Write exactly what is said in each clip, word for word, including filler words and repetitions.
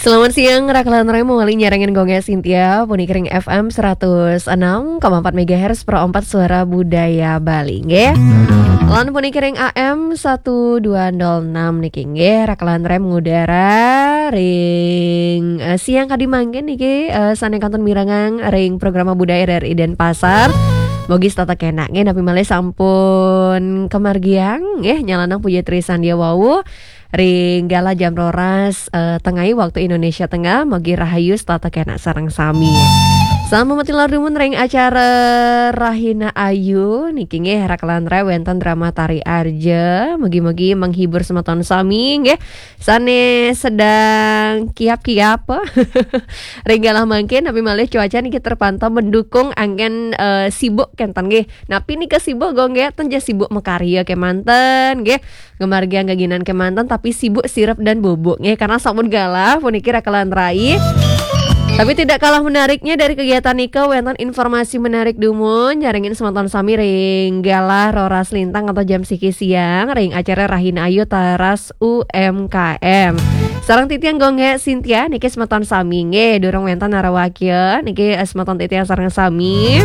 Selamat siang, Raklan Remo wali nyarengin Gongnya Sintia, puniki ring F M seratus enam koma empat megahertz Pro empat Suara Budaya Bali, nggih. Lan puniki ring A M satu dua nol enam niki, nggih, Raklan Rem ngudara ring, eh, siang kadi mangkin niki, eh, sane kantun mirengang ring programa budaya R R I Denpasar. Mogi setata kenak, nggih, napi malih sampun kamargiang, nggih, nyalanang puja trisandia wau. Ring galah jam roras, eh, tengai waktu Indonesia Tengah, mogi rahayu setata kenak sareng sami. Sampun mati lar dumun ring acara Rahina Ayu, niki nggih Raklan Rem wenten drama Tari Arja, mogi-mogi menghibur semeton sami, nggih. Sane sedang kiap-kiap. Ring galah mangkin, napi malih cuaca niki terpantau mendukung anggen, eh, sibuk kenten, nggih. Napi nika sibuk, Gong, nggih? Ten ja sibuk makarya kemanten, nggih. Ngamargiang geginan kemanten, tapi sibuk sirep dan bubuk, nggih, karena sampun galah, puniki Raklan Rem. Tapi tidak kalah menariknya dari kegiatan nika, wenten informasi menarik dumun, nyarengin semeton sami ring galah roras lintang atau jam siki siang, ring acara Rahina Ayu Teras U M K M. Sareng titiang Gongge Sintia, niki semeton sami, nggih, durung wenten narawakya, niki, eh, semeton titiang sareng sami.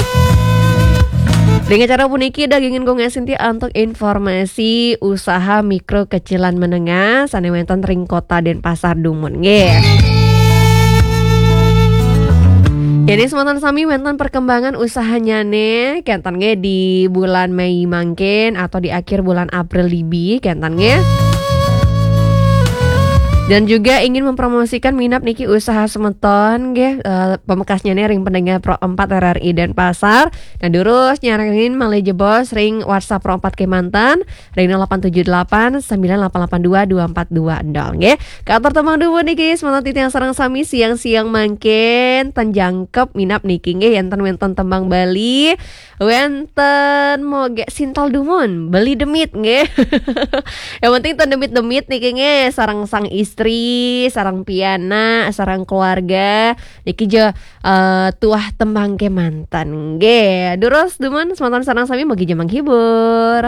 Ring acara puniki dagingin Gongge Sintia antuk informasi usaha mikro kecilan menengah sane wenten ring Kota Denpasar dumun, nggih. Ini semeton sami wenten perkembangan usahanyane kenten, nggih, di bulan Mei mangkin atau di akhir bulan April dibi kenten, nggih. Dan juga ingin mempromosikan minab niki usaha semeton, nggih, eh, pamekasnyane ring pendengar Pro empat R R I Denpasar. Nah, durus nyarengin malih jebos ring WhatsApp Pro empat kemanten ring nol delapan tujuh delapan sembilan delapan delapan dua dua empat dua nol, nggih. Katur tembang dumun niki semeton titiang sareng sami siang-siang mangkin ten jangkep minab niki, nggih, enten wenten tembang Bali, wenten moge sintal dumun, beli demit, nggih. Yang penting ten demit-demit niki, nggih, sareng sang istri, sareng pianak, sareng keluarga. Niki ja, eh, tuah tembang kemanten, nggih. Durus dumun semeton sareng sami mogi ja menghibur.